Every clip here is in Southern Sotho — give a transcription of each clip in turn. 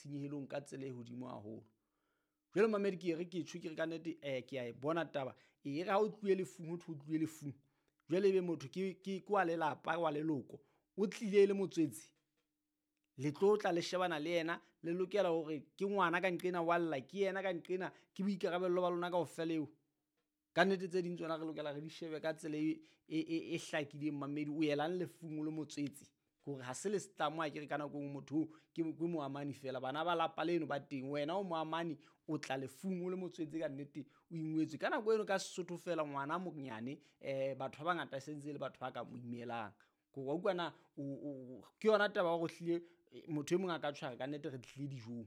Tshenyehelong ka tsela e hodimo haholo. Jwale mamedi, ke re ke tjho, ke re ka nnete, ke a e bona taba e re ha o tluwe lefung, ho thwe o tluwe lefung. Jwale ebe motho ke wa lelapa, wa leloko, o tlile e le motswetse, le tlo tla le shebana le yena, le lokela hore ke ngwana ka nqena wa lla, ke yena ka nqena, ke boikarabello ba lona kaofela eo. Ka nnete tse ding tsona re lokela re di shebe ka tsela e hlakileng. Mamedi, o yelang lefung o le motswetse, ke hore ha se le setlamo. Ha ke re ka nako e nngwe motho oo ke moamani fela, bana ba lapa leno ba teng, wena o moamani, o tla lefung o le motswetse, ka nnete o ingwetswe ka nako eno ka Sesotho fela. Ngwana monyane, batho ba bangata e sentse e le batho ba ka mo imelang, ke wa utlwa na? Ke yona taba ya hore hlile motho e mong a ka tshwara ka nnete re tlile dijong,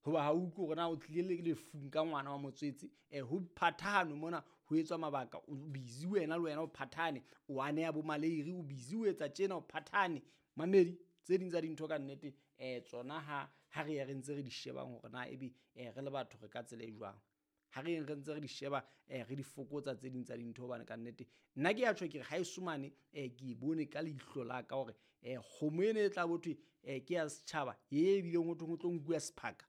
hoba ha o utlwe hore na o tlile le lefung ka ngwana wa motswetse. Ho phathahane mona, ho etswa mabaka, o busy wena, le wena o phathahane, o aneha bo maleiri, o busy o etsa tjena, o phathahane. Mamedi, tse ding tsa dintho ka nnete, tsona ha re ye re ntse re di shebang hore na ebe, re le batho re ka tsela e jwang, ha re yeng re ntse re di sheba, re di fokotsa tse ding tsa dintho, hobane ka nnete nna ke ya tjho, ke re ha eso mane, ke e bone ka leihlo la ka hore, kgomo ena e tla bo thwe, ke ya setjhaba e bileng ho thweng ho tlo nkuwa sephaka.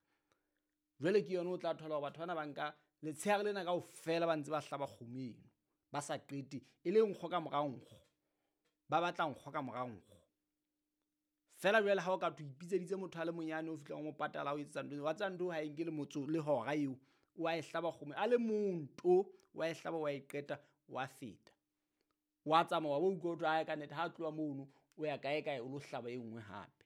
Jwale ke yona o tla thola hore batho bana ba nka letshehare lena kaofela ba ntse ba hlaba kgomo eno, ba sa qete, e le nkgo ka mora nkgo, ba batla nkgo ka mora nkgo fela. Jwale ha o ka thwe o ipitseditse motho a le monyane, o fihlang o mo patala, o etsetsa ntho, wa tseba ntho ha e nke le motso le hora eo, wa e hlaba kgomo a le mong to, wa e hlaba, wa e qeta, wa feta, wa tsamaya, wa bo utlwa ho thwe ae, ka nnete ha tloha mono o ya kae kae, o lo hlaba e nngwe hape.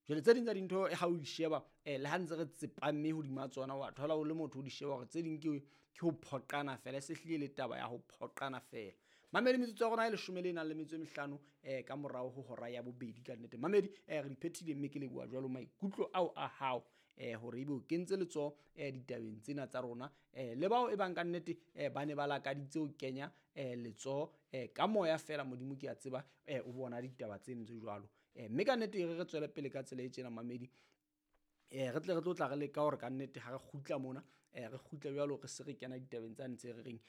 Jwale tse ding tsa dintho ha o di sheba, le ha ntse re tsepamme hodima tsona, wa thola o le motho o di sheba hore tse ding ke ho phoqana fela, e se hlile le taba ya ho phoqana fela. Mamedi, metsotso ya rona e leshome le nang le metso e mehlano, ka morao ho hora ya bobedi. Ka nnete mamedi, re di phethile, mme ke leboha jwalo maikutlo ao a hao, hore ebe o kentse letsoho, ditabeng tsena tsa rona, le bao e bang ka nnete, ba ne ba lakaditse ho kenya, letsoho, ka moya fela. Modimo ke a tseba, o bona ditaba tseno tse jwalo, mme ka nnete e re re tswele pele ka tsela e tjena. Mamedi, re tle re tlo tla re leka hore ka nnete ha re kgutla mona, re kgutle jwalo re se re kena ditabeng tsane tse re reng,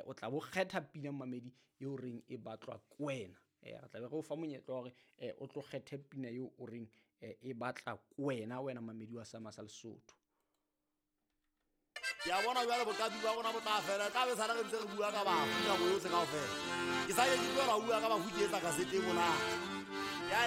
o tla bo kgetha pina, mamedi, eo reng e batlwa ke wena. Re tla be re o fa monyetla wa hore, o tlo kgethe pina eo o reng, e batla ke wena, wena mamedi wa Sama sa Lesotho. Ke a bona jwale boqapi ba rona bo tla fela, tla be sala re ntse re bua ka bafu nako yotlhe kaofela. Ke sa ke ke tlohela ho bua ka bafu, ke etsa kasete e monate.